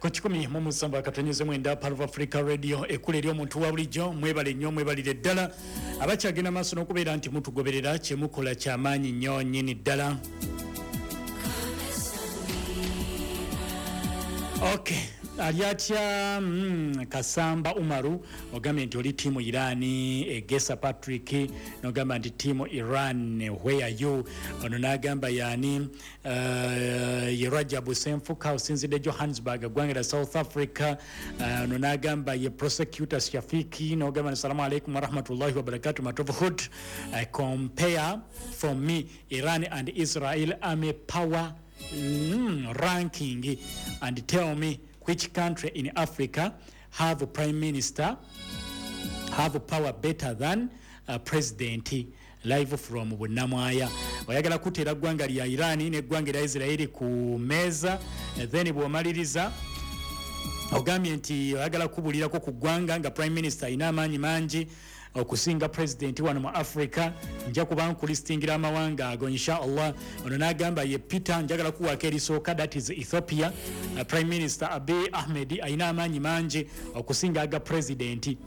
Ku 107.9 Pearl of Africa Radio, ekula eri omuntu wa bulijjo. Mwebale nnyo, mwebalire ddala abakyagenda maaso n'okubeera nti mutugoberera. Kyemukola kyamaanyi nnyo nnyini ddala. Ok, ali atya? Kasamba Umaru, ogambye nti oli tiimu Irani. Egesa Patrick nogamba nti tiimu Iran, where are you? Ono nagamba yani ye Rajabu Senfuka, osinzidde Johannesburg, eggwanga lya South Africa. Ono nagamba ye Prosecutor Shafiki, nogamba nti salamu alaikum warahmatullahi wabarakatu. Matovu Hood, compare for me Iran and Israel army power ranking and tell me which country in Africa have a prime minister have power better than a president. Live from Bunamwaya. Oyagala kuteera ggwanga lya Iran n'eggwanga lya Israeli ku meeza. Then bw'omaliriza ogambye nti oyagala kubulirako ku ggwanga nga prime minister alina amaanyi mangi okusinga president wano mu Africa. Nja kuba nkulistingira amawanga ago, inshallah. Ono n'agamba ye Peter, njagala kuwaako erisooka, that is Ethiopia. Prime Minister Abiy Ahmed alina amaanyi mangi okusinga aga president.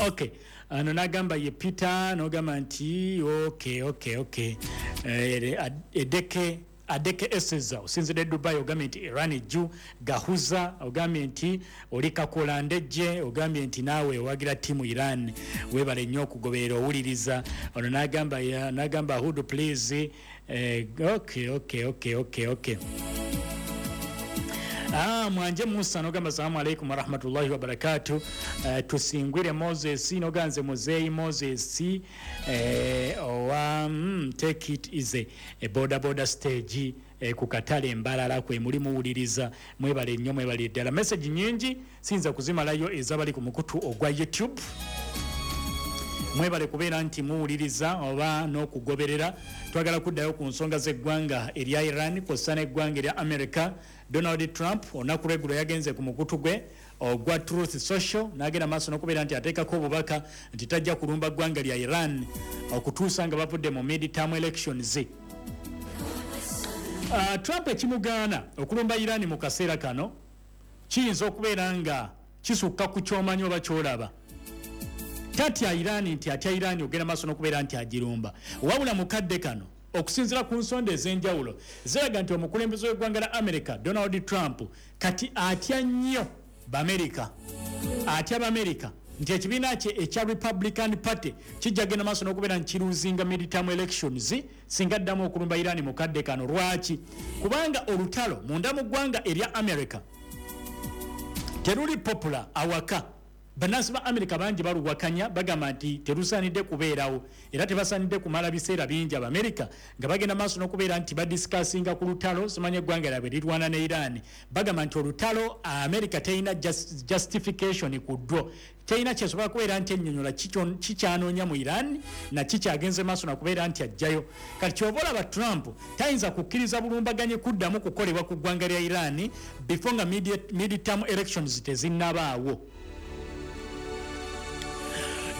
Okay, ano n'agamba ye Peter, n'ogamba nti okay. Edeke Adeke Eseza, osinzidde Dubai, ogambye nti Iran jju gahuza. Ogambye nti oli Kakola Ndejje, ogambye nti naawe owagira tiimu Iran. Weebale nnyo okugoberera, owuliriza. Ono n'agamba Hood please. Okay. Mwanje Musa nogamba salamu alaikum warahmatullahi wabarakatu. Tusingwire Moses noganze muzeyi Moses owa take it easy, boda boda stage ku katale embalala kwe muli muwuliriza. Mwebale nnyo, mwebale ddala. Message nyingi siyinza kuzimalayo ezabali ku mukutu ogwa YouTube. Mwebale kubeera nti muwuliriza oba n'okugoberera. Twagala kuddayo ku nsonga z'eggwanga erya Iran kw'ossa n'eggwanga erya America. Donald Trump olunaku lweggulo yagenze ku mukutu gwe ogwa Truth Social n'agenda maaso n'okubeera nti ateekako obubaka nti tajja kulumba ggwanga lya Iran okutuusa nga bavudde mu midterm elections. Trump ekimugaana okulumba Iran mu kaseera kano kiyinza okubeera nga kisukka ku kyomanyi oba kyolaba. Tatya Iran nti atya Iran ogenda maaso n'okubeera nti agirumba, wabula mukadde kano okusinziira ku nsonda ez'enjawulo ziraga nti omukulembeze w'eggwanga la America Donald Trump kati atya nnyo Bamerika, atya Bamerika nti ekibiina kye ekya Republican Party kijja genda maaso n'okubeera nti kiruzinga midterm elections singa addamu okulumba Iran mu kadde kano. Lwaki? Kubanga olutalo munda mu ggwanga erya America teruli popular. Awaka bannansi ba America bangi baluwakanya, bagamba nti terusaanidde kubeerawo era tebasaanidde kumala biseera bingi Abamerika nga bagenda maaso n'okubeera nti badiscussinga ku lutalo simanya eggwanga lyabwe lirwana ne Iran. Bagamba nti olutalo America terina justification ku ddwo, terina kyesobola kubeera nti ennyonyola kikyanoonya mu Iran na kikyagenze maaso nakubeera nti ajjayo. Kati kyova olaba Trump tayinza kukkiriza bulumbaganyi kuddamu kukolebwa ku ggwanga lya Iran before nga midterm elections tezinnabaawo.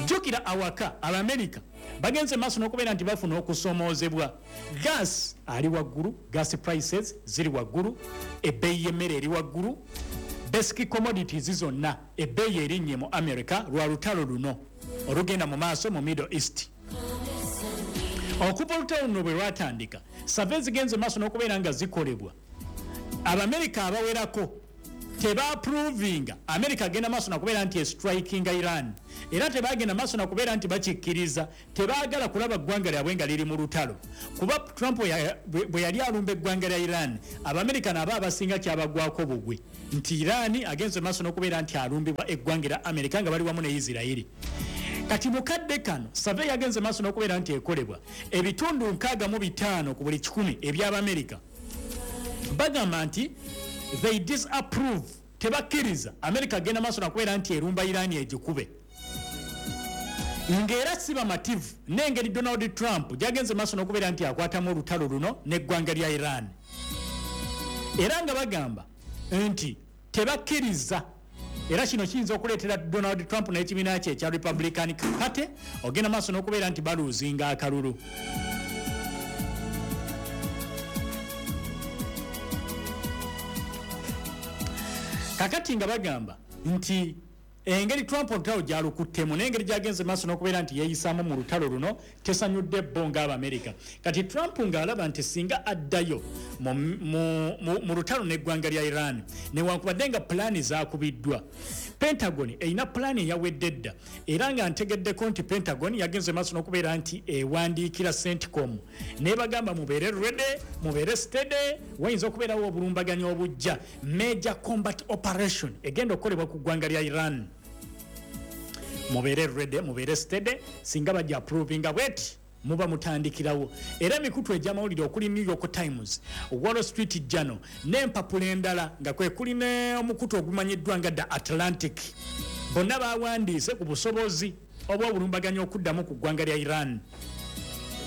Jjukira awaka Abamerika bagenze maaso n'okubeera nti bafuna okusomoozebwa. Gas ali waggulu, gas prices ziri waggulu, ebbeeyi y'emmere eri waggulu, basic commodities zonna ebbeeyi erinnye mu America lwa lutalo luno olugenda mu maaso mu Middle East. Okuva olutalo luno bwe lwatandika, survey zigenze maaso n'okubeera nga zikolebwa, Abamerika abawerako tebaaprovinga America agenda maaso nakubeera nti estrikinga Iran, era tebagenda maaso nakubeera nti bakikkiriza. Tebaagala kulaba ggwanga lyabwe nga liri mu lutalo, kuba Trump bwe yali alumba eggwanga lya Iran, Abamerika nabo abasinga kyabagwako bugwe nti Iran agenze maaso n'okubeera nti alumbibwa eggwanga lya America nga bali wamu ne Isirairi. Kati mukadde kano survey yagenze maaso n'okubeera nti ekolebwa, ebitundu 65 ku buli 100 eby'Abamerika bagamba nti they disapprove, tebakkiriza America agenda maaso nakubeera nti erumba Iran egikube, ng'era si bamativu n'engeri Donald Trump gyagenze maaso n'okubeera nti akwatamu olutalo luno n'eggwanga lya Iran, era nga bagamba nti tebakkiriza. Era kino kiyinza okuleetera Donald Trump n'ekibiina kye ekya Republican Party ogenda maaso n'okubeera nti baluuzinga akalulu. Kakati nga bagamba nti engeri Trump olutalo gyalukuttemu n'engeri gyagenze maaso n'okubeera nti yeeyisaamu mu lutalo luno tesanyudde bo ng'Abamerika. Kati Trump ng'alaba nti singa addayo mu lutalo n'eggwanga lya Iran, newankubadde nga pulaani zaakubiddwa, Pentagon erina pulaani eyawedde dda, era nga ntegeddeko nti Pentagon yagenze maaso n'okubeera nti ewandiikira CENTCOM nebagamba mubeere ready, mubeere steady, wayinza okubeerawo obulumbaganyi obujja, major combat operation egenda okukolebwa ku ggwanga lya Iran. Mubeere ready, mubeere steady, singa bajja approvinga bweti muba mutandikirawo. Era emikutu egy'amawulire okuli New York Times, Wall Street Journal n'empapula endala nga kwe kuli n'omukutu ogumanyiddwa nga The Atlantic, bonna bawandiise ku busobozi obw'obulumbaganyi okuddamu ku ggwanga lya Iran.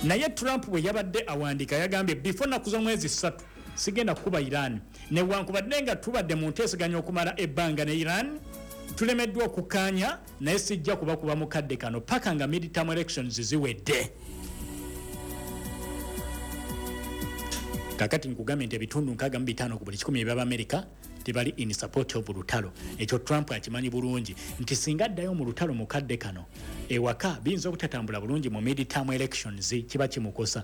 Naye Trump bwe yabadde awandiika yagambye before nnaku z'omwezi 3 sigenda kukuba Iran, newankubadde nga tubadde mu nteeseganya okumala ebbanga ne Iran, tulemeddwa okukkaanya, naye sijja kubakuba mu kadde kano paka nga midterm elections ziwedde. Kakati nkugambye nti ebitundu 65 ku buli 100 eby'Abamerika tebali in support of lutalo. Ekyo Trump akimanyi bulungi nti singa addayo mu lutalo mu kadde kano ewaka biyinza obutatambula bulungi mu midterm elections, kiba kimukosa.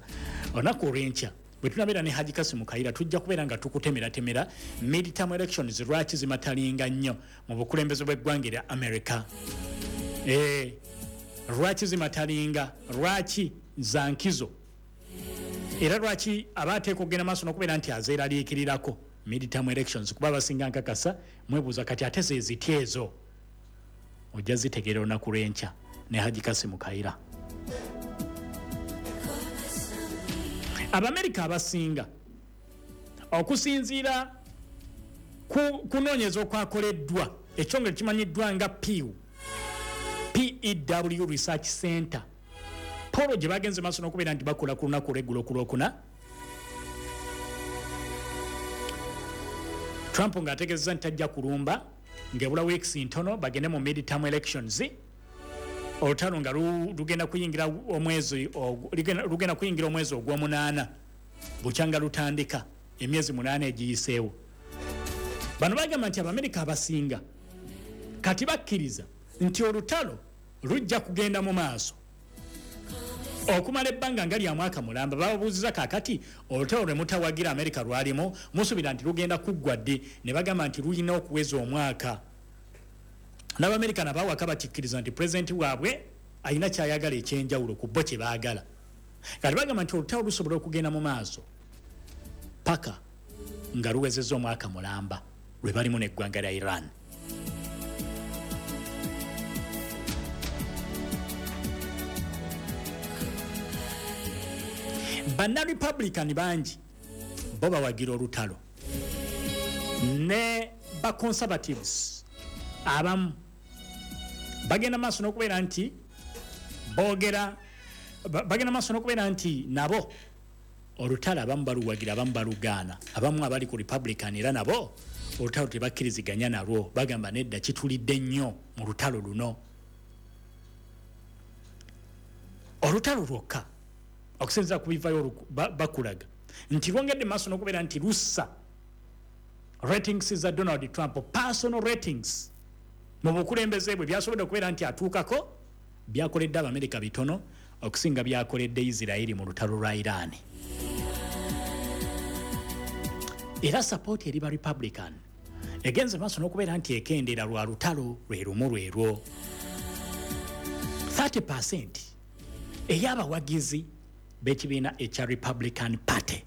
Olunaku olw'enkya bwe tunabeera ne Haji Kasimu Kayira tujja kubeera nga tukutemeratemera midterm elections lwaki zimatalinga nnyo mu bukulembeze bw'eggwanga erya America. Lwaki zimatalinga, lwaki za nkizo, era lwaki abateeka okugenda maaso n'okubeera nti azeeraliikirirako midterm elections, kuba abasinga nkakasa mwebuuza kati ate ze zitya ezo. Ojja zitegeera olunaku lw'enkya ne Haji Kasimu Kayira. Abamerika abasinga okusinziira ku kunoonyeza okwakoleddwa ekyongere kimanyiddwa nga Pew PEW Research Center, polo gye bagenze maaso n'okubeera nti bakola ku lunaku olw'eggulo ku Lwokuna, Trump ng'ategeezezza nti tajja kulumba ng'ebula weeks ntono bagende mu midterm elections. Olutalo nga lugenda kuyingira omwezi lugenda kuyingira omwezi ogw'omunaana bukyanga lutandika, emyezi 8 egiyiseewo. Bano bagamba nti Abamerika abasinga kati bakkiriza nti olutalo lujja kugenda mu maaso okumala ebbanga nga lya mwaka mulamba. Bababuuziza kaakati olutalo lwe mutawagira Amerika lwalimu musuubira nti lugenda kuggwa ddi? Ne bagamba nti lulina okuweza omwaka. N'Abamerika nabo awaka bakikkiriza nti pulezidenti waabwe alina ky'ayagala ekyenjawulo ku bo kye baagala. Kati bagamba nti olutalo lusobola okugenda mu maaso paka nga luwezezza omwaka mulamba lwe balimu n'eggwanga lya Iran. Banna Republican bangi bo bawagira olutalo, ne ba Conservatives abamu bagenda maaso n'okubeera nti boogera, bagenda maaso n'okubeera nti nabo olutalo abamu baluwagira, abamu balugaana. Abamu abali ku Republican era nabo olutalo tebakkiriziganya nalwo, bagamba nedda kitulidde nnyo mu lutalo luno. Olutalo lwokka okusinziira ku bivayo bakulaga nti lwongedde maaso n'okubeera nti lussa ratings za Donald Trump, personal ratings mu bukulembeze bwe byasobodde okubeera nti atuukako, byakoledde Abamerika bitono okusinga byakoledde Israeli mu lutalo lwa Iran. Era support eri ba Republican egenze maaso n'okubeera nti ekendeera lwa lutalo lwe lumu lwerwo. 30% ey'abawagizi b'ekibiina ekya Republican Party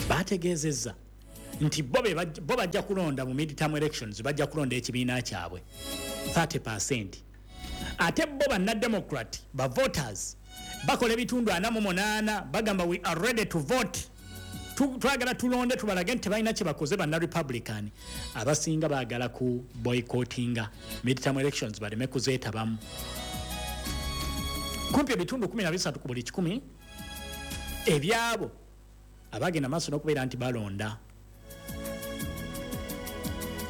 bategeezezza nti bo bajja kulonda mu midterm elections, bajja kulonda ekibiina kyabwe 30%. Ate bo banna Democrat ba voters bakola ebitundu 48, bagamba we are ready to vote, twagala tulonde tubalage nti tebalina kye bakoze. Banna Republican abasinga baagala ku boycottinga midterm elections baleme kuzeetabamu. Kumpi ebitundu 13 ku buli 100 ebyabo abagenda maaso n'okubeera nti balonda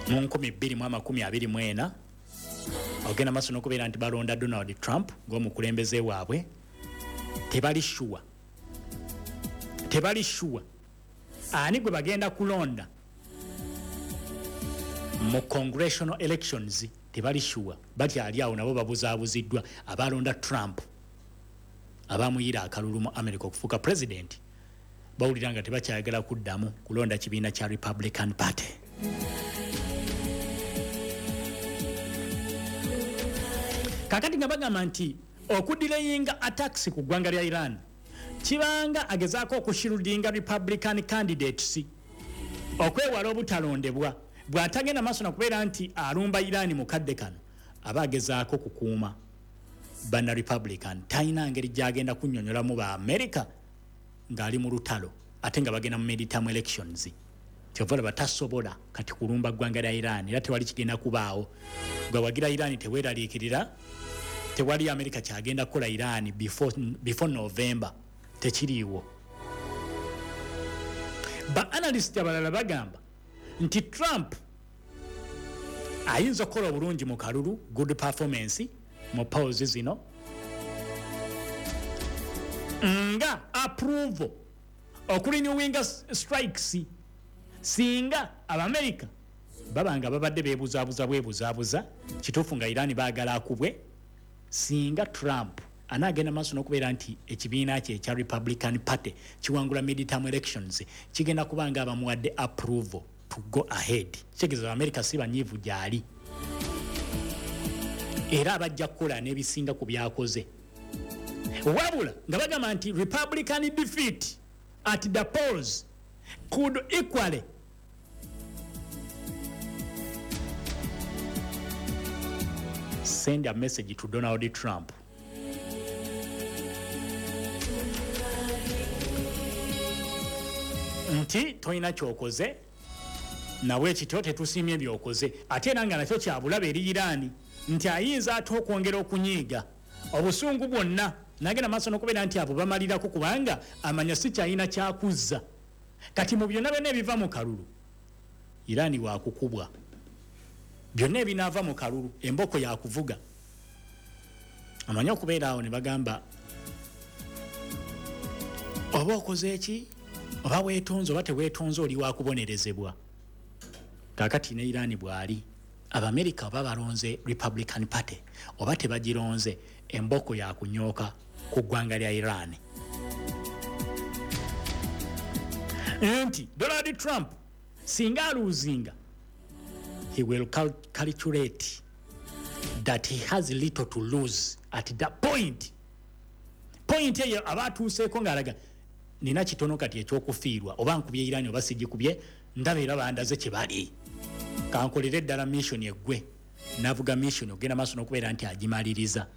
mu 2024 ogenda maaso n'okubeera nti balonda Donald Trump ng'omukulembeze waabwe, tebali sure, tebali sure Ani gwe bagenda kulonda mu congressional elections tebali sure, bakyali awo nabo babuzaabuziddwa. Abalonda Trump, abamuyira akalulu mu America okufuuka president, bawulira nga tebakyayagala kuddamu kulonda kibiina kya Republican Party. Kakati nga bagamba nti okudelayinga attacks ku ggwanga lya Iran kibanga agezaako okushieldinga Republican candidates okwewala obutalondebwa. Bw'atagenda maaso nakubeera nti alumba Iran mu kadde kano, aba agezaako kukuuma banna Republican. Talina ngeri gyagenda kunnyonnyolamu ba America ng'ali mu lutalo ate nga bagenda mu midterm elections. Kyova olaba tasobola kati kulumba ggwanga lya Iran, era tewali kigenda kubaawo. Gwe wagira Iran teweeraliikirira, tewali America kyagenda kukola Iran before November, tekiriiwo. Ba analyst abalala bagamba nti Trump ayinza okukola obulungi mu kalulu, good performance mu polls zino, nga approval okurenewinga strikes, singa Abamerika baba nga babadde beebuzaabuza bwebuzaabuza kituufu nga Iran baagala akubwe. Singa Trump anaagenda maaso n'okubeera nti ekibiina kye ekya Republican Party kiwangula midterm elections, kigenda kuba nga abamuwadde approval to go ahead. Kitegeeza Abamerika si banyiivu gyali, era abajja kukola n'ebisinga ku byakoze. Wabula nga bagamba nti Republican defeat at the polls could equally send a message to Donald Trump nti tolina kyokoze, nawe ekityo tetusiimye byokoze. Ate era nga nakyo kyabulabe eri Iran, nti ayinza ate okwongera okunyiiga obusungu bwonna nagenda maaso n'okubeera nti abo bamalirako, kubanga amanya si kyalina kyakuzza. Kati mu byonna byonna ebiva mu kalulu, Iran wakukubwa. Byonna ebinaava mu kalulu, emboko yakuvuga. Amanyi okubeera awo ne bagamba oba okoze eki, oba weetonze oba teweetonze, oli wakubonerezebwa. Kakati ne Iran bw'ali, Abamerika oba balonze Republican Party oba tebagironze, emboko yakunyooka ku ggwanga lya Iran. Nti Donald Trump singa alosinga, he will calculate that he has little to lose at that point. Point eyo aba atuuseeko ng'alaga nina kitono kati ekyokufiirwa, oba nkubye Iran oba sigikubye, ndaba era bandaze kye bali, kankolere ddala mission eggwe. Navuga mission ogenda maaso n'okubeera nti agimaliriza.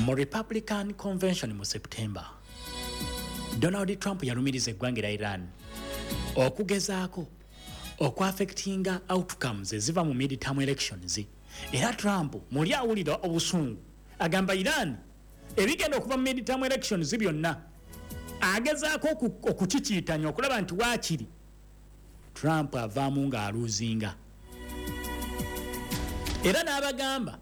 Mu Republican Convention mu September, Donald Trump yalumiriza eggwanga erya Iran okugezaako okuaffectinga outcomes eziva mu midterm elections. Era Trump muli awulira obusungu, agamba Iran ebigenda okuva mu midterm elections byonna agezaako okukikiitanya okulaba nti waakiri Trump avaamu ng'alosinga. Era n'abagamba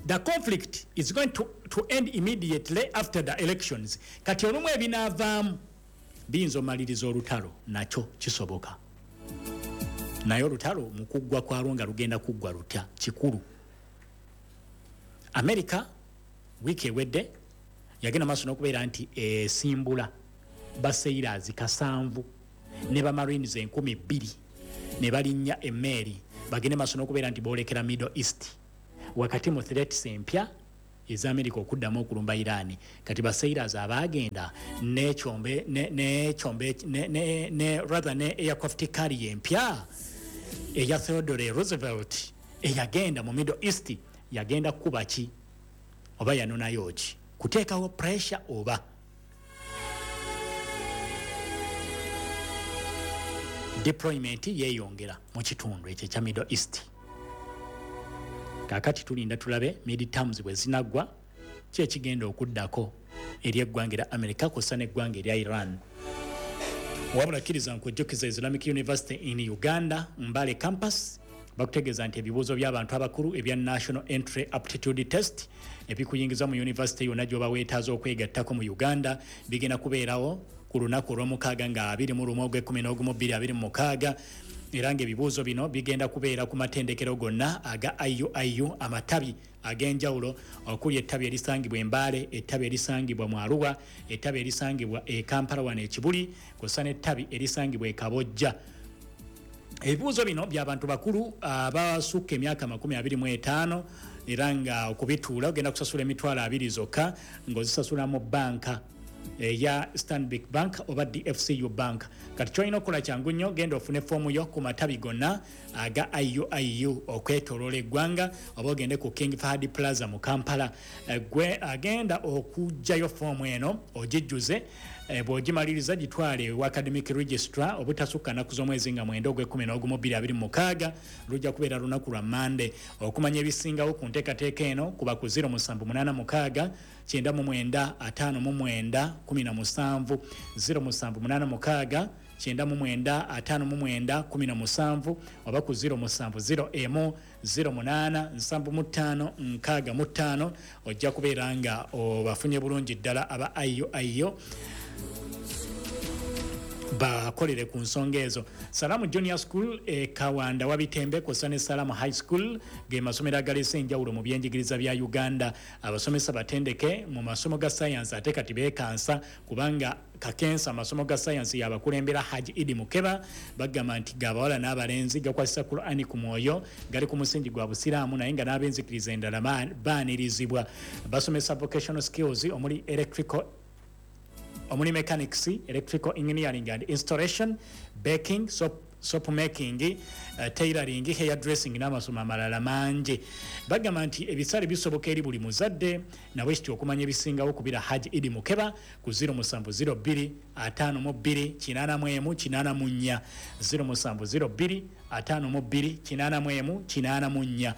the conflict is going to end immediately after the elections. Kati olumu ebinaavaamu biyinza omaliriza olutalo, nakyo kisoboka, naye olutalo mu kuggwa kwalwo nga lugenda kuggwa lutya kikulu. America wiiki ewedde yagenda maaso n'okubeera nti esimbula basailors 7 ne bamarines 2000 ne balinnya emmeeri bagende maaso n'okubeera nti boolekera Middle East, wakati mu threats empya eza America okuddamu okulumba Iran. Kati basailors abaagenda n'ekyombe n'ekyombe ne rather ne aircraft carrier empya eya Theodore Roosevelt eyagenda mu Middle East, yagenda kukuba ki oba yanonayo ki? Kuteekawo pressure oba deployment yeeyongera mu kitundu ekyo ekya Middle East. Kaakati tulinda tulabe midterms bwe zinaggwa, ki ekigenda okuddako eri eggwanga erya America kw'ossa n'eggwanga erya Iran. Wabula kkiriza nkujjukiza Islamic University in Uganda, Mbale Campus. Bakutegeeza nti ebibuuzo by'abantu abakulu ebya National Entry Aptitude Test ebikuyingiza mu yunivasite yonna gy'oba weetaaza okwegattako mu Uganda bigenda kubeerawo ku lunaku olw'omukaaga nga 21 ogw'ekkumi 2026, era ng'ebibuuzo bino bigenda kubeera ku matendekero gonna aga IUIU amatabi ag'enjawulo okuli ettabi erisangibwa e Mbale, ettabi erisangibwa mu Arua, ettabi erisangibwa e Kampala wano e Kibuli, kw'ossa n'ettabi erisangibwa e Kabojja. Ebibuuzo bino by'abantu bakulu abasukka emyaka 25, era nga okubituula ogenda kusasula 20,000 zokka ng'ozisasula mu bbanka eya Stanbic Bank oba DFCU Bank. Kati kyolina okukola kyangu nnyo, genda ofune foomu yo ku matabi gonna aga IUIU okwetooloola eggwanga oba ogende ku King Fahad Plaza mu Kampala. Gwe agenda okuggyayo foomu eno ogijjuze, bw'ogimaliriza gitwale ewa academic registrar obutasukka nnaku z'omwezi nga 9 ogw'ekkumi n'ogumu 2026, lujja kubeera lunaku lwa Mande. Okumanya ebisingawo ku nteekateeka eno kuba ku 0786 99 59 17, 0786 99 59 17, oba ku 0701 08 75 65. Ojja kubeera nga obafunye bulungi ddala aba IUIU bakolere ku nsonga ezo. Salamu Junior School e Kawanda Wabitembe kw'ossa ne Salamu High School ge masomero agaleese enjawulo mu byenjigiriza bya Uganda. Abasomesa batendeke mu masomo ga sayansi, ate kati beekansa kubanga kakensa amasomo ga sayansi yabakulembera Haji Idi Mukeba. Bagamba nti gabawala n'abalenzi, gakwasisa Qur'ani ku mwoyo, gali ku musingi gwa Busiraamu, naye nga n'abenzikiriza endala baanirizibwa. Basomesa vocational skills omuli electrical, omuli mechanics, electrical engineering and installation, baking, soap making, tailoring, hair dressing n'amasomo amalala mangi. Bagamba nti ebisale bisoboka eri buli muzadde. Nabwe kityo okumanya ebisingawo kubira Haji Idi Mukeba ku 0702 52 81 84, 0702 52 81 84,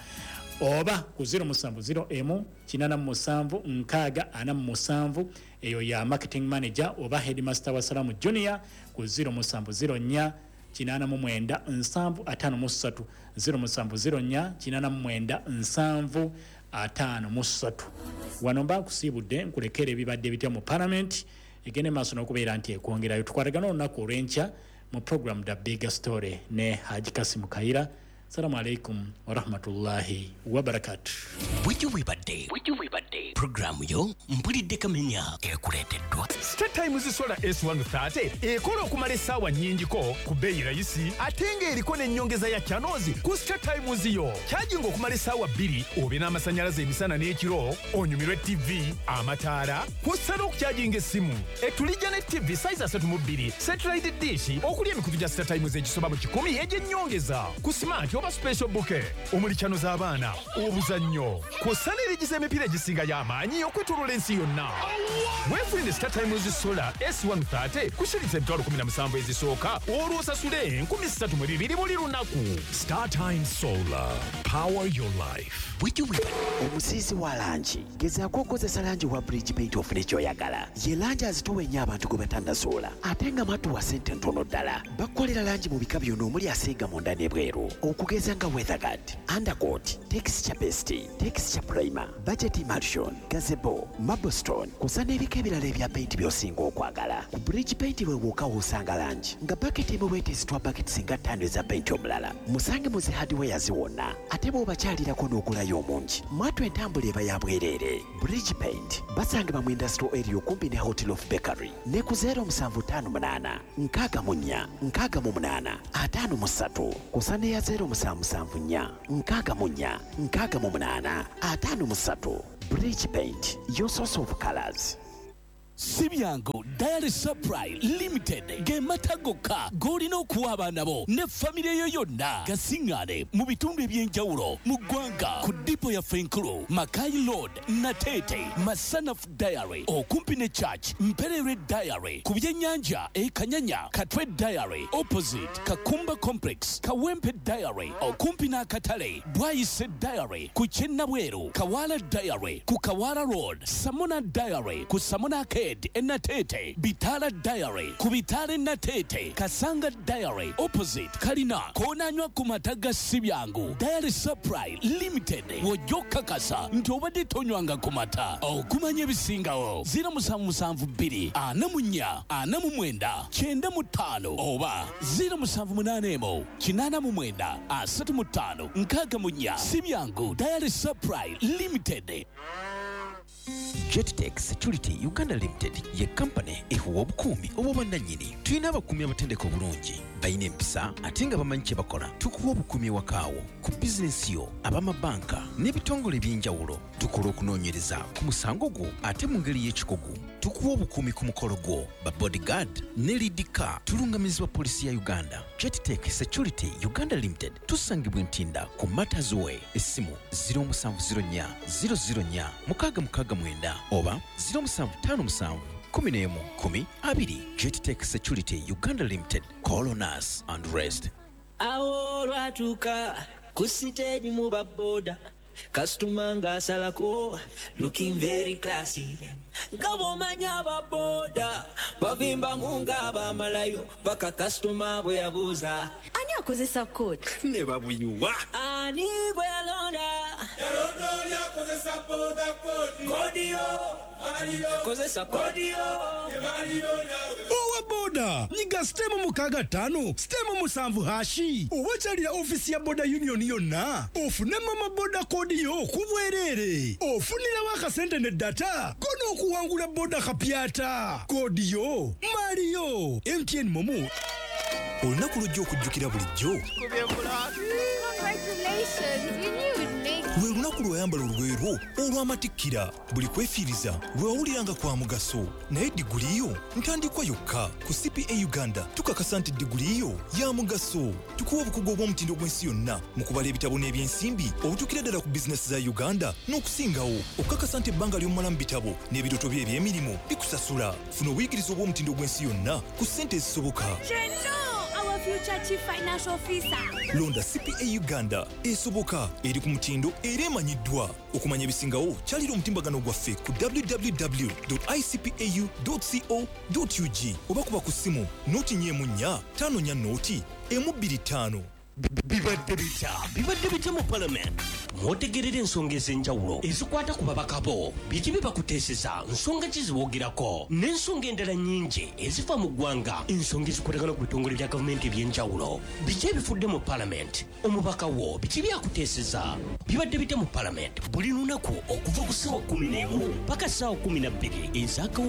oba ku 0701 87 6 47. Eyo ya marketing manager oba headmaster wa Salamu Junior ku 0704 89 7 53, 0704 89 7 53. Wano mba nkusiibudde, nkulekera ebibadde bitya mu parliament egende maaso n'okubeera nti ekwongerayo. Tukwatagana olunaku olw'enkya mu program The Big Story ne Haji Kasimu Kayira. Salamu alaikum warahmatullahi wabarakatu. Bwejjo bwebadde puroguramu yo Mpulidde Kamenya ekuleeteddwa Star Times Solar S130 ekola okumala essaawa nnyingiko ku bbeeyi rayisi, ate ng'eriko n'ennyongeza ya channels ku Star Times yo. Kyajinga okumala essaawa 2 obe n'amasannyalaze emisana n'ekiro, onyumirwe TV, amataala, kw'ossa n'okukyajinga essimu. Etulijja ne TV size 32, satellite dish okuli emikutu gya Star Times egisoba mu 100 egy'ennyongeza ku smart oba special bouquet omuli channel z'abaana, obuzannyo, kw'ossa n'erigiza emipiira egisinga y'amaanyi okwetooloola ensi yonna. Weefunire Star Times Solar S130 ku shilingi 17,000 ezisooka, olwo osasule 3,200 buli lunaku. Star Times Solar. Power your life. Bwejjo bwebadde. Omusiizi wa langi, gezaako okukozesa langi wa Bridge Paint ofune ky'oyagala. Ye langi azitowa ennyo abantu gwe batannasuula, ate nga matuwa ssente ntono ddala. Bakukolera langi mu bika byonna omuli asiiga munda n'ebweru, okugeza nga weatherguard, undercoat, texture paste, texture primer, budget emulsion, gazebo, marblestone, kusa n'ebika ebirala ebya paint by'osinga okwagala. Ku Bridge Paint we wokka w'osanga langi nga baketi emu bwetezitwa baketi singa 5 eza paint omulala. Musange mu zi hardwares wonna, ate bw'obakyalirako n'ogulayo omungi, mwatu entambula eba ya bwereere. Bridge Paint basangibwa mu industrial area okumpi ne Hotel of Bakery ne ku 0758 64 68 53, kusa neya 0774 64 68 53. Bridge Paint, your source of colors. Si byangu. Dairy Supply Limited ge mata gokka g'olina okuwa abaana bo ne famire yo yonna. Gasiŋŋaane mu bitundu eby'enjawulo mu ggwanga ku dipo yaffe enkulu, Makai Road, Nateete, Masanaf Dairy okumpi ne church, Mpererwe Dairy ku byennyanja e Kanyanya, Katwe Dairy opposite Kakumba Complex, Kawempe Dairy okumpi n'akatale, Bwayise Dairy ku Kyennabweru, Kawala Dairy ku Kawala Road, Samona Dairy ku Samona Arcade. Arcade e Nateete, Bitaala Diary ku Bitaala e Nateete, Kasanga Diary opposite Kalina, koonanywa ku mata ga Sibyangu Diary Supply Limited. Wojja okukakasa nti obadde tonywanga ku mata. Okumanya ebisingawo 0772 44 49 95 oba 0781 89 35 64. Sibyangu Diary Supply Limited. Jettech Security Uganda Limited ye kampani ehuwa obukuumi obw'obwannannyini. Tulina abakuumi abatendeka obulungi, balina empisa ate nga bamanyi kye bakola. Tukuwa obukuumi ewakaawo, ku bizinensi yo, ab'amabanka n'ebitongole eby'enjawulo. Tukola okunoonyereza ku musango gwo ate mu ngeri y'ekikugu. Tukuwa obukuumi ku mukolo gwo, ba bodyguard ne lead car. Tulungamizibwa poliisi ya Uganda. Jettech Security Uganda Limited tusangibwa Ntinda ku Matters Way. Essimu 0704 004 669 oba 0757 11 10 20. Jettech Security Uganda Limited. Call on us and rest. Awo olwatuuka ku siteegi mu baboda, kasitoma ng'asalako looking very classy, nga bw'omanya ababoda bavimbamu ng'abamalayo paka kasitoma bwe yabuuza ani akozesa kodi ne babuyiwa ani gwe yalonda yalonda oli akozesa boda kodi kodiyo kozesa kodiyo. Owa boda nyiga sitemu 65 sitemu 7 hashi oba kyalira ofiisi ya boda union yonna ofune mama boda kodi yo ku bwereere, ofunirawo akasente ne data kono okuwangula boda kapyata kodi yo Mario MTN Momo. Olunaku lujja okujjukira bulijjo. Lwe lunaku lweyambala olugoye lwo olw'amatikkira. Buli kwefiiriza lwe wawuliranga kwa mugaso. Naye diguli yo ntandikwa yokka. Ku CPA Uganda tukakasa nti diguli yo ya mugaso. Tukuwa obukugu obw'omutindo gw'ensi yonna mu kubala ebitabo n'ebyensimbi obutuukira ddala ku bizinesi za Uganda n'okusingawo. Okukakasa nti ebbanga ly'omala mu bitabo n'ebirooto bye eby'emirimu bikusasula. Funa obuyigirize obw'omutindo gw'ensi yonna ku ssente ezisoboka. Future Chief Financial Officer. Londa CPA Uganda esoboka, eri ku mutindo era emanyiddwa. Okumanya ebisingawo kyalira omutimbagano gwaffe ku www.icpau.co.ug oba kuba ku ssimu 044 54 125. Bibadde bitya? Bibadde bitya mu parliament? Mwotegerera ensonga ez'enjawulo ezikwata ku babaka bo, biki bye bakuteeseza, nsonga ki ziboogerako, n'ensonga endala nnyingi ezifa mu ggwanga, ensonga ezikwatagana ku bitongole bya gavumenti eby'enjawulo. Biki ebifudde mu parliament? Omubaka wo biki byakuteeseza? Bibadde bitya mu parliament? Buli lunaku okuva ku ssaawa 11 paka ssaawa 12 ez'akawungeezi.